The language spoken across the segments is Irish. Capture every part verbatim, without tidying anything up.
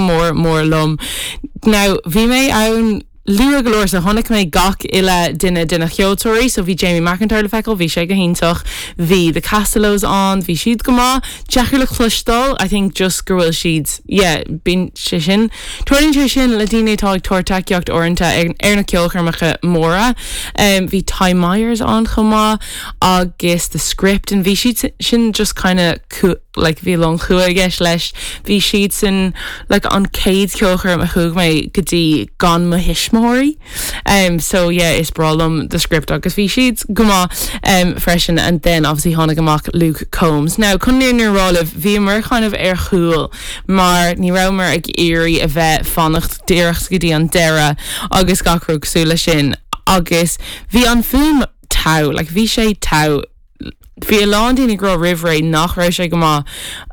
mór mór liom. Now bhí mé ann luath go leor so chonaic mé gach uile duine de na ceoltóirí, so bhí Jamie McIntyre le feiceáil, bhí sé go hiontach, bhí the Castellows ann, bhí siad go maith, deacair le cloisteáil, I think just go bhfuil siad yeah, bíonn sé sin. Tarlaíonn sé sin le daoine atá ag tabhairt tacaíocht uaireanta ar, ar na ceolchoirmeacha móra. Um, bhí Ty Myers ann chomh maith agus the script and bhí siad sin just kind of like bhí lon chua gceis leis bhí siad sin like an céad ceolchoirm a chuaigh mé go dtí gan mo thuismitheoirí. Um, so yeah, is breá liom the script agus bhí siad go maith um, freisin and then obviously tháinig amach Luke Combs. Now chun an fhírinne a rá libh bhíomar kind of ar chúl mar ní rabhamar ag iarraidh a bheith fanacht díreach go dtí an deireadh agus gach rud cosúil leis sin agus bhí an fuaim togha, like bhí sé togha Bhí a lán daoine ag rá roimh ré nach raibh sé go maith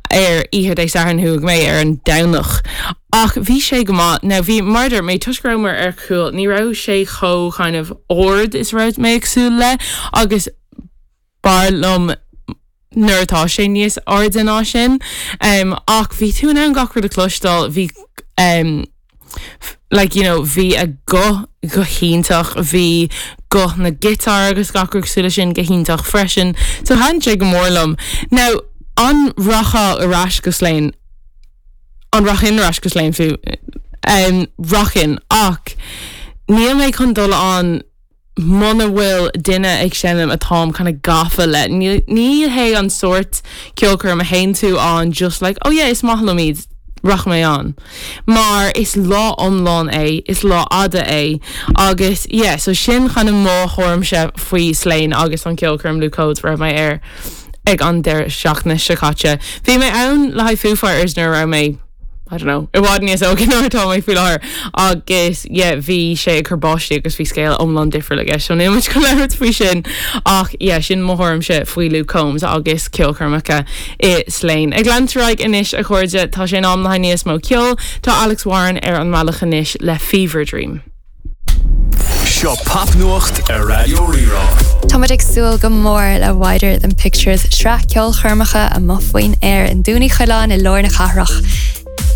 ar oíche Dé Sathairn chuaigh mé ar an Domhnach. Ach bhí sé go maith now bhí mar mé toisc go rabhamar ar chúl, ní raibh sé chomh kind of ard is raibh mé ag súil le agus b'fhearr liom nuair atá sé níos airde ná sin. Um, ach bhí tú in ann gach rud a chloisteáil bhí um, like you know bhí a guth go hiontach bhí guth na giotár agus gach rud cosúil leis sin go hiontach freisin so thaitin sé go mór liom now an rachfá ar ais go Slane an rachainn ar ais go Slane fiú um, rachainn ach níl mé chun dul ann muna bhfuil duine ag seinm atáim kind of gafa le ní ní hé an sórt ceolchoirm a théann tú ann just like oh yeah is maith liom iad rachaidh mé ann. Mar is lá iomlán é, is lá fada é agus yeah, so sin kind of mo thuairimse faoi Slane agus an ceolchoirm Luke Combs raibh mé air ag an deireadh seachtaine seo caite. Bhí mé ann le haghaidh Foo Fighters nuair a raibh mé I don't know, i bhfad níos óige ná atá mé faoi láthair agus yeah, bhí sé ag cur báistí agus bhí scéal iomlán difriúil aige, so níl muid chun labhairt faoi sin ach yeah, sin mo thuairimse faoi Luke Combs agus ceolchoirmeacha i Slane. Ag leanúint ar aghaidh anois a chairde tá sé in am le níos mó ceoil, tá Alex Warren ar an mbealach anois le Fever Dream. Seo popnuacht ar Raidió Rí-Rá. Táimid ag súil go mór le Wider Than Pictures sraith ceolchoirmeacha amuigh faoin aer i nDún Uí Choileáin i lár na cathrach.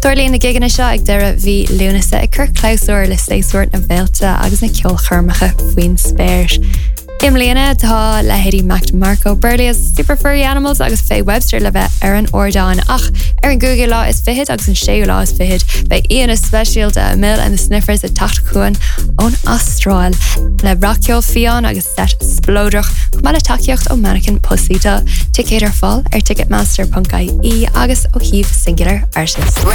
Tarlaíonn na gigeanna seo ag deireadh mhí Lúnasa ag cur clabhsúr le séasúr na bhféilte agus na ceolchoirmeacha faoin spéir. I mbliana tá leithéidí Mac DeMarco, Berlioz, Super Furry Animals agus Faye Webster le bheith ar an ardán ach ar an gcúigiú lá is fiche agus an séú lá is fiche beidh aíonna speisialta Amyl and the Sniffers ag teacht chugainn ón Astráil le rac-cheol fiáin agus set spleodrach chomh maith le tacaíocht ó Mannequin Pussy tá ticéid ar fáil ar ticketmaster.ie agus ó shuíomh Singular Artist.